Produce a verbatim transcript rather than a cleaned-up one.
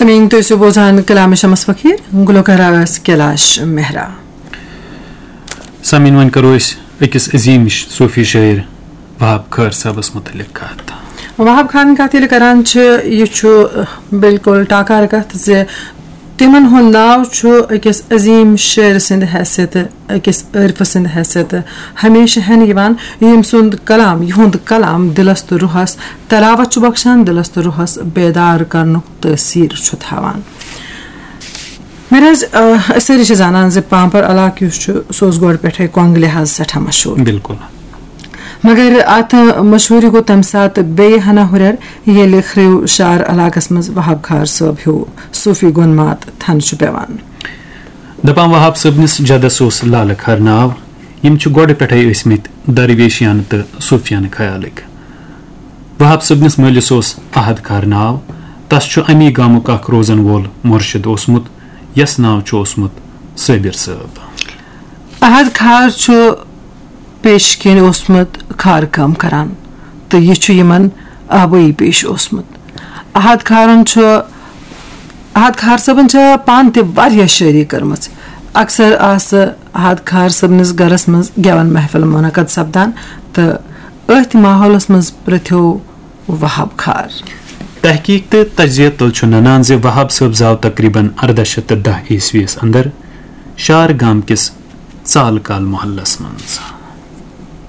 سامعین، تُہۍ ٲسِو بوزان کلام شمس فقیر، گلوکارہ ٲس کیلاش مہرا۔ سامعین، وۄنۍ کرو أسۍ أکِس عظیٖم ش-، صوفی شٲعر وہاب خٲر صٲبس متعلق کتھ۔ وہاب خان کتھ ییٚلہِ کران چھِ، یہِ چھُ، اہ، بالکل ٹاکار کتھ زِ تِمن ہُنٛد ناو چھُ أکِس عظیٖم شٲعر سٕنٛدِ حیثیتہٕ، أکِس عٲرفہٕ سٕنٛدِ حیثیتہٕ ہمیشہٕ ہٮ۪نہٕ یِوان، ییٚمۍ سُنٛد کلام، یِہُنٛد کلام دِلس تہٕ روحس تلاوت چھُ بخشان، دِلس تہٕ روحس بیدار کرنُک تٲثیر چھُ تھاوان۔ مہراج، آ، أسۍ سٲری چھِ زانان زِ پامپر علاقہٕ یُس چھُ، سُہ اوس گۄڈٕ پٮ۪ٹھَے کۄنٛگہٕ لحاظ سٮ۪ٹھاہ مشہوٗر۔ بِلکُل۔ مگر اَتھ مشہوٗری گوٚو تَمہِ ساتہٕ بیٚیہِ ہنا ہُرٮ۪ر، ییٚلہِ خرٛیو شار علاقس منٛز وہاب خار صٲب ہیوٗ صوٗفی گۄنمات تھنہٕ چھُ پٮ۪وان۔ دَپان وہاب صٲبنِس جدس اوس لالہٕ خار ناو۔ یِم چھِ گۄڈٕ پٮ۪ٹھَے ٲسۍمٕتۍ درویشیانہٕ تہٕ صوٗفیانہٕ خیالٕکۍ۔ وہاب صٲبنِس مٲلِس اوس احد خار ناو۔ تس چھُ اَمی گامُک اکھ روزن وول مُرشِد اوسمُت، یس ناو چھُ اوسمُت صٲبِر صٲب۔ احد خار چھُ پیش کِنۍ اوسمُت خار کٲم کران تہٕ یہِ چھُ یِمن آبٲیی پیش اوسمُت۔ احد خارن چھُ، احد خار صٲبن چھِ پانہٕ تہِ واریاہ شٲعری کٔرمٕژ۔ اکثر آسہٕ احد خار صٲبنِس گرس منٛز گٮ۪ون محفل منعقد سپدان تہٕ أتھۍ ماحولس منٛز پرٛتھیو وہاب خار۔ تحقیق تہٕ تجزیہ تل چھُ ننان زِ وہاب صٲب زاو تقریباً ارداہ شیٚتھ تہٕ دَہ عیسویس اندر شار گام کِس ژالہٕ کال محلس منٛز۔